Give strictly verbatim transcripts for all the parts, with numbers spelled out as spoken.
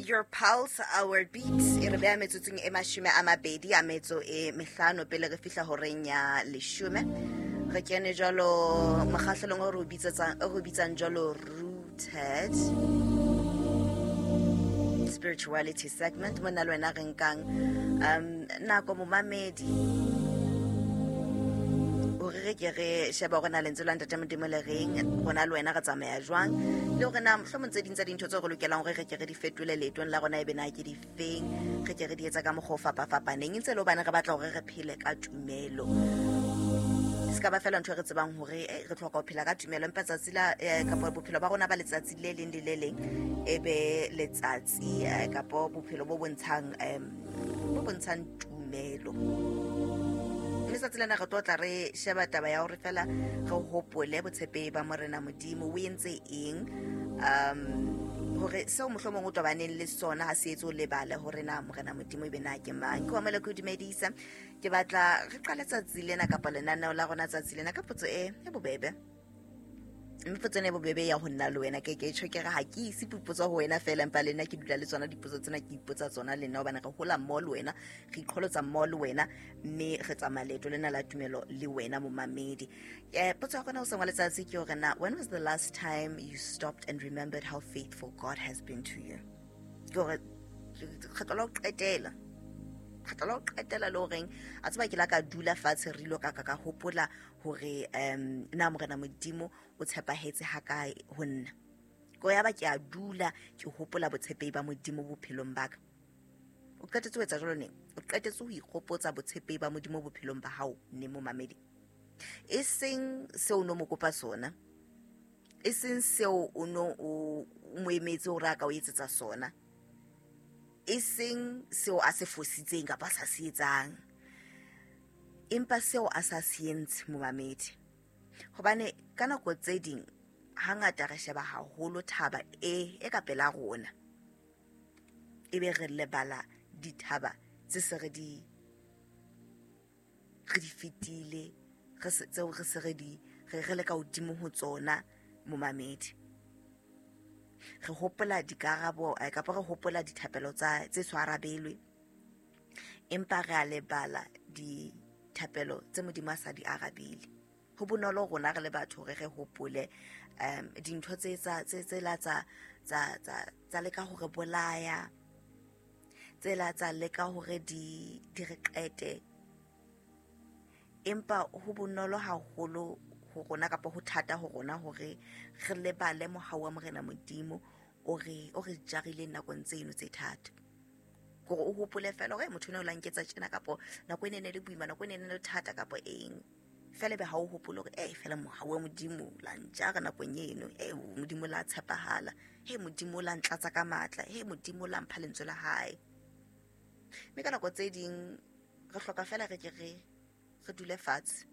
Your Pulse, Our Beat. E re beha metsotsong e mashome a mabedi a metso e mehlano pele re fihla horeng ya leshome. Re kene jwalo mokgahlelong o re o bitsetsang, o re o bitsang jwalo Rooted Spirituality segment. Mona le wena re nkang um nako momamedi hore re ke re sheba hore na lentswe la Ntate Modimo le reng, rona le wena re tsamaya jwang, le hore na mohlomong tse ding tsa dintho tseo re lokelang hore re ke re di fetole leetong la rona ebe na ke difeng, re ke re di etsa ka mokgwa o fapafapaneng, ntse le hobane re batla hore re phele ka tumelo. Se ka ba fela ntho e re tsebang hore eh, re tlhoka ho phela ka tumelo, empa tsatsi la eh, kapa bophelo ba rona ba letsatsi le leng le le leng e be letsatsi eh, kapa bophelo bo bontshang em, bo bontshang tumelo. Letsatsi lena re tlo tla re sheba taba ya hore fela re hopole botshepehi ba Morena Modimo o entse eng, um hore seo mohlomong o tobaneng le sona ha se etse o lebale hore na Morena Modimo ebe na ke mang. Ke wa mele ke o dumedisa, ke batla re qale tsatsi lena kapa lenaneo la rona tsatsi lena ka potso e e bobebe. Mme potso ena e bobebe ya ho nna le wena, ke ke tjho ke re ha ke ise potso ho wena fela, empa le nna ke dula le tsona dipotso tsena, ke ipotsa tsona le nna, hobane re hola mmoho le wena, re iqholotsa mmoho le wena, mme re tsamaya leeto lena la tumelo le wena momamedi. Eh, potso ya rona hoseng wa letsatsi ke hore na when was the last time you stopped and remembered how faithful God has been to you? Ke hore kgetlo la ho qetela, kgetlo la ho qetela le horeng a tseba ke la ka dula fatshe re ilo ka ka ka hopola hore um na Morena Modimo o tshepahetse ha kae ho nna. Ko ya ba ke a dula ke hopola botshepehi ba Modimo bophelong ba ka. O qetetse ho etsa jwalo neng? O qetetse ho ikgopotsa botshepehi ba Modimo bophelong ba hao neng momamedi? E seng seo o no mo kopa sona, e seng seo o no o mo emetse hore a ka o etsetsa sona, e seng seo a se fositseng kapa a sa se etsang, empa seo a sa se entse momamedi. Hobane ka nako tse ding hangata re sheba haholo thaba e, e ka pela rona, ebe re lebala dithaba tse se re di, re di fetile, re se, tseo re se re di, re, re le ka hodimo ho tsona momamedi. Re hopola dikarabo, eh, kapa re hopola dithapelo tsa, tse so arabelwe, empa re a lebala dithapelo tse Modimo a sa di arabile. Ho bonolo rona re le batho hore re hopole, um, dintho tse tsa, tse, tse la tsa, tsa, tsa, tsa leka ho re bolaya, tse la tsa leka hore di, di re qete. Empa ho bonolo haholo ho rona kapa ho thata ho rona hore re lebale mohau wa Morena Modimo o re, o re jarileng nakong tseno tse thata. Hore o hopole fela hore motho ena o la nketsa tjena, kapa nako e ne ne le boima, nako e ne ne le thata kapa eng. Fela ebe ha o hopole hore, eh, fela mohau wa Modimo la ntjara nakong eno, eh, Modimo la tshepahala, he Modimo la ntlatsa ka matla, he Modimo la mpha lentswe la hae. Mme ka nako tse ding re hloka fela re ke re, re dule fatshe,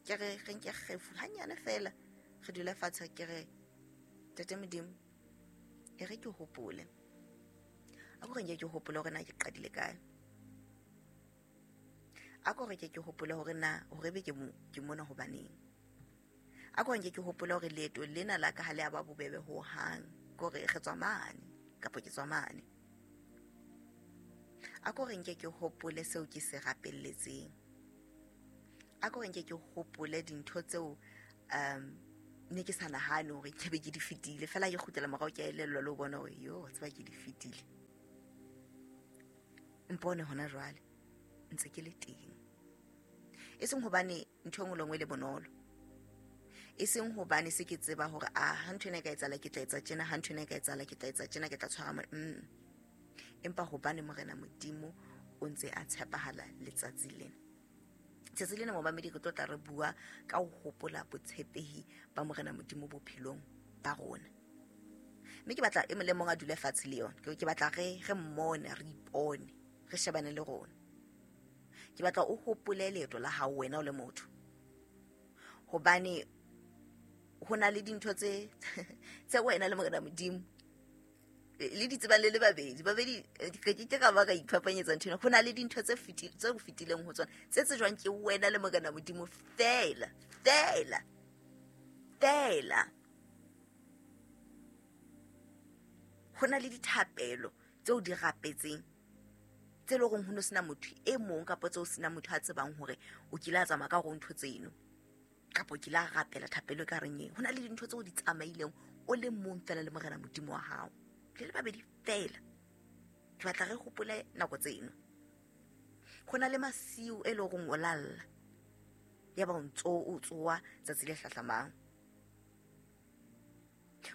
ke re re nke kgefu hanyane fela, re dule fatshe ke re, Ntate Modimo, e re ke hopole. A ko re nke ke hopole hore na ke qadile kae. A ko re ke ke hopole hore na hore ebe ke mo, ke mona hobaneng. A ko re nke ke hopole hore leeto lena la ka ha le a ba bobebe ho hang, ke hore re tswa mane kapa ke tswa mane. A ko re nke ke hopole seo ke se rapelletseng. A ko re nke ke hopole dintho tseo, um, ne ke sa nahane hore ke be ke di fetile. Fela ke kgutlela morao ke a elellwa le ho bona hore, yo, wa tseba ke di fetile. Mpone hona jwale ntse ke le teng. E seng hobane ntho e nngwe le nngwe e le bonolo, e seng hobane se ke tseba hore, ah, ha ntho ena e ka etsahala ke tla etsa tjena, ha ntho ena e ka etsahala ke tla etsa tjena, ke tla tshwara mo-, mm. Empa hobane Morena Modimo o ntse a tshepahala letsatsi lena. Tsatsi lena momamedi re tlo tla re bua ka ho hopola botshepehi ba Morena Modimo bophelong ba rona. Mme ke batla e mong le mong a dule fatshe le yona. Ke, ke batla re, re mmone, re ipone, re shebane le rona. Ke batla o hopole leeto la hao wena o le motho. Hobane ho na le dintho tse, tse wena le Morena Modimo le di tsebang le le babedi. Babedi, ke ke ka ba ka iphapanyetsa ntho ena. Ho na le dintho tse feti-, tse o fetileng ho tsona, tse tsejwang ke wena le Morena Modimo fela, fela, fela. Ho na le dithapelo tseo di rapetseng tse le horeng ho no sena motho e mong kapa tseo sena motho a tsebang hore o kile a tsamaya ka hore ntho tseno kapa o kile a rapela thapelo e ka reng eng. Ho na le dintho tseo di tsamaileng o le mong fela le morena Modimo wa hao, le le babedi fela. Ke batla re hopole nako tseno. Ho na le masiu e le horeng o lalla, ya ba o ntso o tsoa tsatsi le hlahlamang.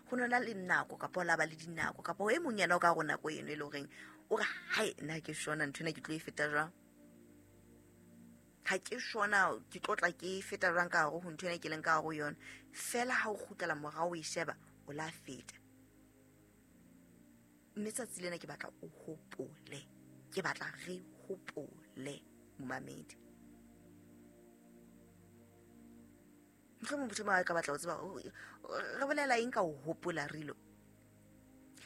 Ho na le nako kapa o la ba le dinako kapa e mong yena o ka rona nako eno e le horeng o re hai nna ke shona ntho ena ke tlo e feta jwang, ha ke shona ke tlo tla ke feta jwang ka hare ho ntho ena ke leng ka hare ho yona. Fela ha o kgutlela morao o e sheba o la feta. Mme tsatsi lena ke batla o hopole, ke batla re hopole momamedi. Mohlomong motho a ka batla ho tseba re bolela eng ka ho hopola rilo.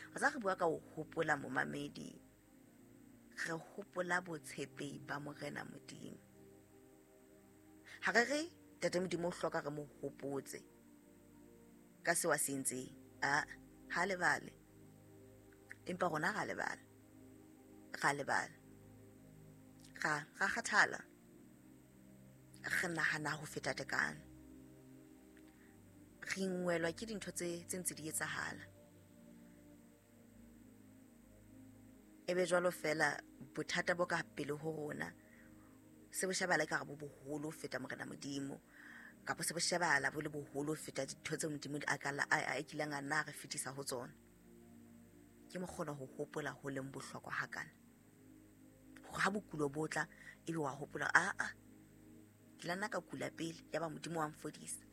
Wa tseba re bua ka ho hopola momamedi, re hopola botshepehi ba morena Modimo. Ha re re Ntate Modimo o hloka re mo hopotse ka seo a se entseng, a ha lebale, empa rona ra lebala, ra lebala, ra ra kgathala, re nahana ho feta tekano, re ingwelwa ke dintho tse tse ntse di etsahala. Ebe jwalo fela bothata bo ka pele ho rona se bo shebala ka re bo boholo ho feta morena Modimo, kapa se bo shebala bo le boholo ho feta dintho tseo Modimo a ka a kileng a nna re fetisa ho tsona. Ke mo kgona ho hopola ho leng bohlokwa hakana, hore ha bokulo bo tla ebe wa hopola, a a ke la nna ka kula pele ya ba Modimo wa mfodisa.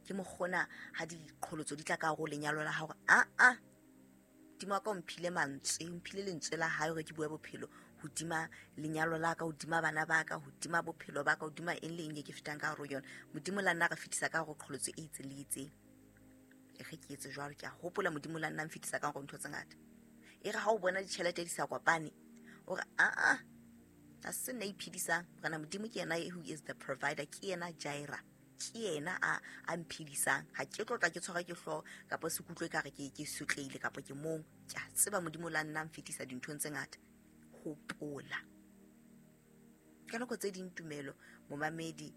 Ke mo kgona ha diqholotso di tla ka hare ho lenyalo la hao, a a Modimo wa ka o mphile mantswe, o mphile lentswe la hae hore ke bue bophelo hodima lenyalo la ka, hodima bana ba ka, hodima bophelo ba ka, hodima eng le eng e ke fetang ka hare ho yona. Modimo la nna re fetisa ka hare ho qholotso e itseng le itseng. E re ke etse jwalo, ke a hopola Modimo la nna mfetisa ka hare ho ntho tse ngata. E re ha o bona ditjhelete di sa kopane, o re a a ha se nna iphedisang, morena Modimo ke yena who is the provider, ke yena Jireh, ke yena a a mphedisang. Ha ke tlo tla ke tshwara ke hlooho kapa se kutlwe ka re ke ke sotleile kapa ke mong. Ke a tseba Modimo la nna mfetisa dinthong tse ngata. Hopola ka nako tse ding tumelo momamedi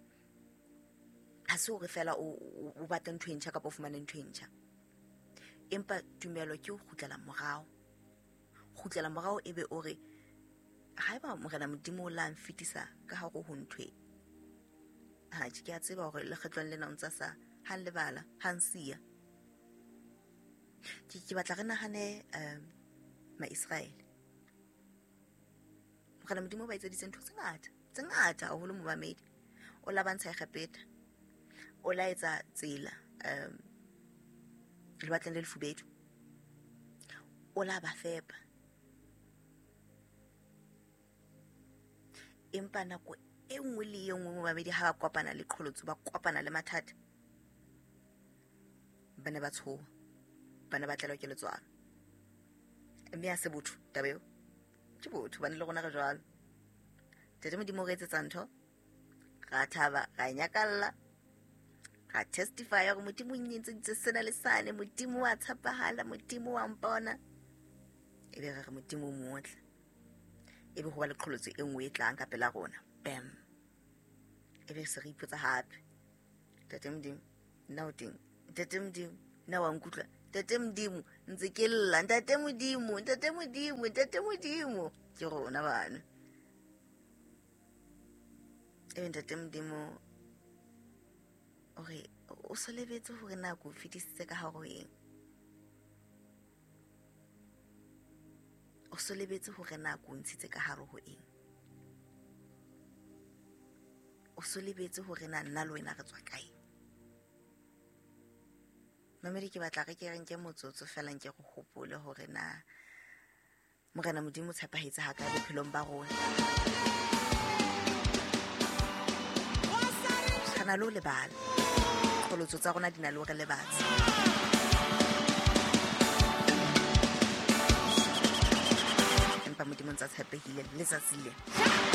ha se hore fela o o batla ntho e ntjha kapa o fumane ntho e ntjha, empa tumelo ke ho kgutlela morao. Kgutlela morao ebe o re haeba morena Modimo o la mfetisa ka hare ho ntho e, ha ke a tseba hore lekgetlong lena o ntsa sa ha lebala ha nsiya. Ke ke batla re nahane um ma-Israele. Morena Modimo ba etseditse ntho tse ngata tse ngata haholo momamedi. O la ba ntsha Egepeta, o la etsa tsela um lewatleng le lefubedu, o la ba fepa, empa nako e nngwe le e nngwe momamedi ha ba kopana le qholotso, ba kopana le mathata, ba ne ba tshoha, ba ne ba tlelwa ke letswalo. Mme ha se botho taba eo, ke botho bane le rona re jwalo. Ntate Modimo o re etsetsa ntho, ra thaba, ra nyakalla, ra testify hore Modimo o nnyentseditse sena le sane, Modimo wa tshepahala, Modimo wa mpona. Ebe re re Modimo o motle, ebe ho ba le qholotso e nngwe e tlang ka pela rona, bam, ebe se re ipotsa hape, Ntate Modimo nna o teng, Ntate Modimo nna wa nkutlwa, Ntate Modimo ntse ke lla, Ntate Modimo, Ntate Modimo, Ntate Modimo. Ke rona bana. Ebe Ntate Modimo o re o so lebetse hore na ko fetisitse ka hare ho eng, o so lebetse hore na ko ntshitse ka hare ho eng, o so lebetse hore na nna le wena re tswa kae. Mamedi, ke batla re ke re nke motsotso fela nke re hopole hore na morena Modimo o tshepahetse ha kae bophelong ba rona. Re na le ho lebala, qholotso tsa rona di na le ho re lebatsa. Empa Modimo ntsa tshepehile letsatsi le.